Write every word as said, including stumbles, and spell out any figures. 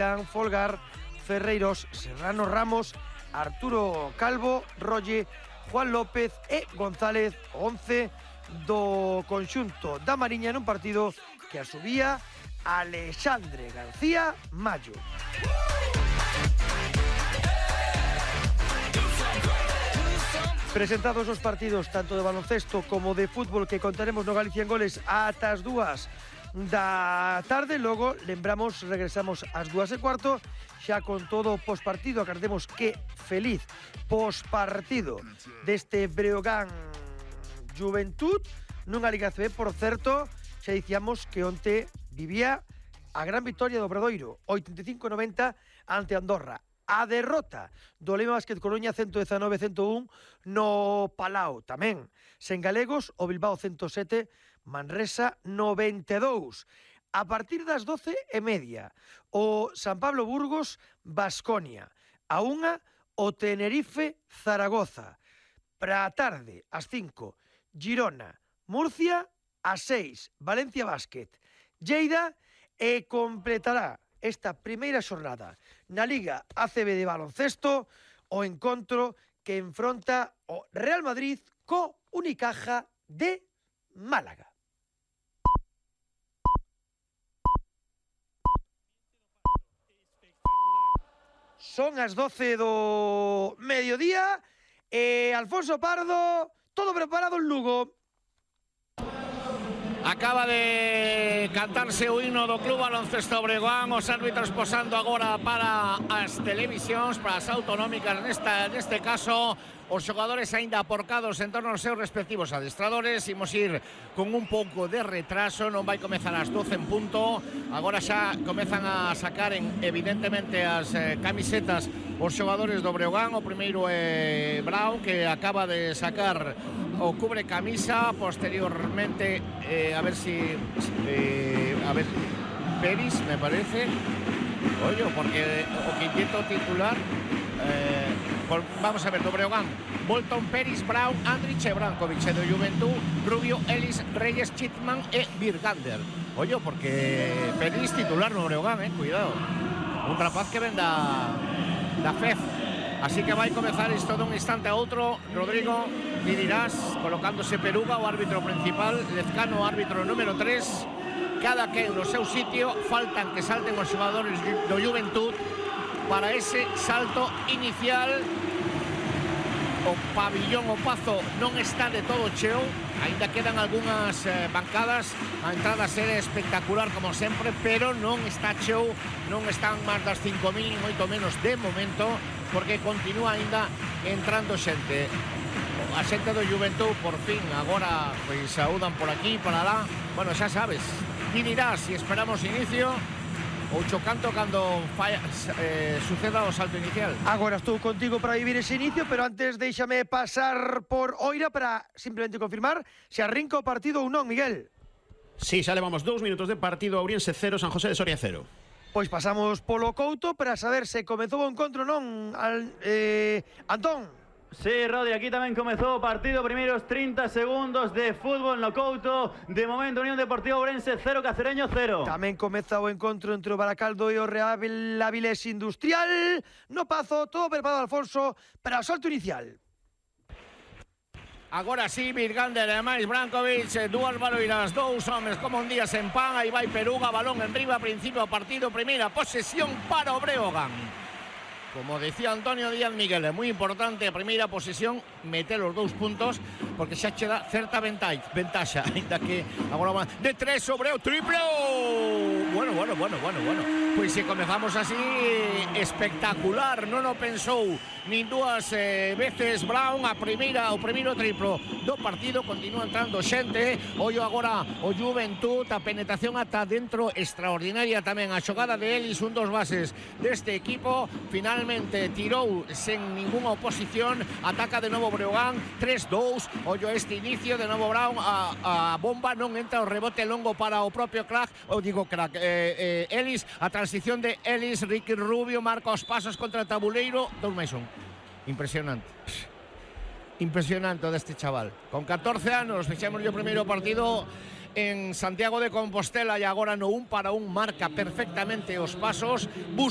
Folgar, Ferreiros, Serrano Ramos, Arturo Calvo, Rolle, Juan López e González, once do conxunto da Mariña nun partido que asubía Alexandre García Mayo. Presentados os partidos tanto de baloncesto como de fútbol que contaremos no Galicia en Goles ata as dúas da tarde. Logo, lembramos, regresamos ás dúas e cuarto xa con todo o pospartido. Agardemos que feliz pospartido deste Breogán Juventud nunha Liga C B. Por certo, xa dicíamos que onte vivía a gran victoria do Obradoiro, oitenta e cinco a noventa ante Andorra. A derrota do Lema Básquet Coruña ciento dezanove a ciento un no Palau. Tamén, sen galegos, o Bilbao ciento sete, Manresa noventa e dous. A partir das doce e media, o San Pablo Burgos Baskonia. A unha, o Tenerife Zaragoza. Para a tarde, ás cinco, Girona Murcia, a seis, Valencia Básquet Lleida, e completará esta primeira xornada na Liga A C B de baloncesto o encontro que enfronta o Real Madrid co Unicaja de Málaga. Son as doce do mediodía e Alfonso Pardo, todo preparado en Lugo. Acaba de cantarse o himno do Club Baloncesto Breogán, os árbitros posando agora para as televisións, para as autonómicas nesta, neste caso. Os xogadores aínda aporcados en torno aos seus respectivos adestradores. Imos ir con un pouco de retraso, non vai comezar ás doce en punto. Agora xa comezan a sacar en, evidentemente as eh, camisetas os xogadores do Breogán. O primeiro é Brown, que acaba de sacar o cubre camisa. Posteriormente, eh, a ver si eh, a ver, Peris, me parece. Oye, porque o quinteto titular eh, por, vamos a ver, do Breogán: Bolton, Peris, Brown, Andrich e Brankovic. E do Juventud, Rubio, Ellis, Reyes, Chitman e Birgander. Oye, porque Peris titular no Breogán, eh, cuidado. Un rapaz que ven da, da F E F. Así que vai comezar isto dun instante a outro. Rodrigo, ti dirás, colocándose Peruga, o árbitro principal, Lezcano, o árbitro número tres. Cada quen no seu sitio. Faltan que salten os xogadores do Juventud para ese salto inicial. O pabillón, o Pazo, non está de todo cheo. Ainda quedan algunhas eh, bancadas. A entrada será espectacular como sempre, pero non está cheo. Non están máis das cinco mil, nin moito menos de momento, porque continúa ainda entrando xente. A xente do Juventud, por fin, agora pois saúdan por aquí, para lá. Bueno, xa sabes, ti dirás se esperamos inicio ou chocanto cando falla, eh, suceda o salto inicial. Agora estou contigo para vivir ese inicio, pero antes déixame pasar por Oira para simplemente confirmar se arrinca o partido ou non, Miguel. Sí, xa levamos dous minutos de partido. Ourense cero, San José de Soria cero. Pois pasamos polo Couto para saber se comezou o encontro non, al, eh, Antón. Sí, Rodi, aquí tamén comezou o partido. Primeiros trinta segundos de fútbol no Couto. De momento, Unión Deportiva Ourense cero, Cacereño cero. Tamén comeza o encontro entre o Baracaldo e o Real Avilés Industrial. No Pazo, todo preparado, Alfonso, para o salto inicial. Agora sí, Birgander e máis Brankovic, dúas baloiras, dous homes como un día sen pan. Aí vai Peruga, balón en riba, principio do partido, primeira posesión para o Breogán. Como decía Antonio Díaz Miguel, é moi importante a primeira posesión meter os dous puntos, porque xa che dá certa ventaxa, ainda que agora va de tres sobre o triplo. Bueno, bueno, bueno, bueno, bueno. Pois se comezamos así, espectacular, non o pensou nin dúas eh, veces Brown. A primeira, o primeiro triplo do partido, continúa entrando xente. Ollo agora o Juventud, a penetración ata dentro extraordinaria tamén. A xogada de Ellis, un dos bases deste equipo, finalmente tirou sen ninguna oposición. Ataca de novo Breogán, tres dous. Ollo este inicio, de novo Brown, a, a bomba non entra, o rebote longo para o propio crack, ou digo crack, eh, eh, Ellis, a transición de Ellis, Ricky Rubio marca os pasos contra o tabuleiro, dous máis un. Impresionante. Impresionante deste chaval. Con catorce anos, fixemos o primeiro partido en Santiago de Compostela e agora no un para un marca perfectamente os pasos, busca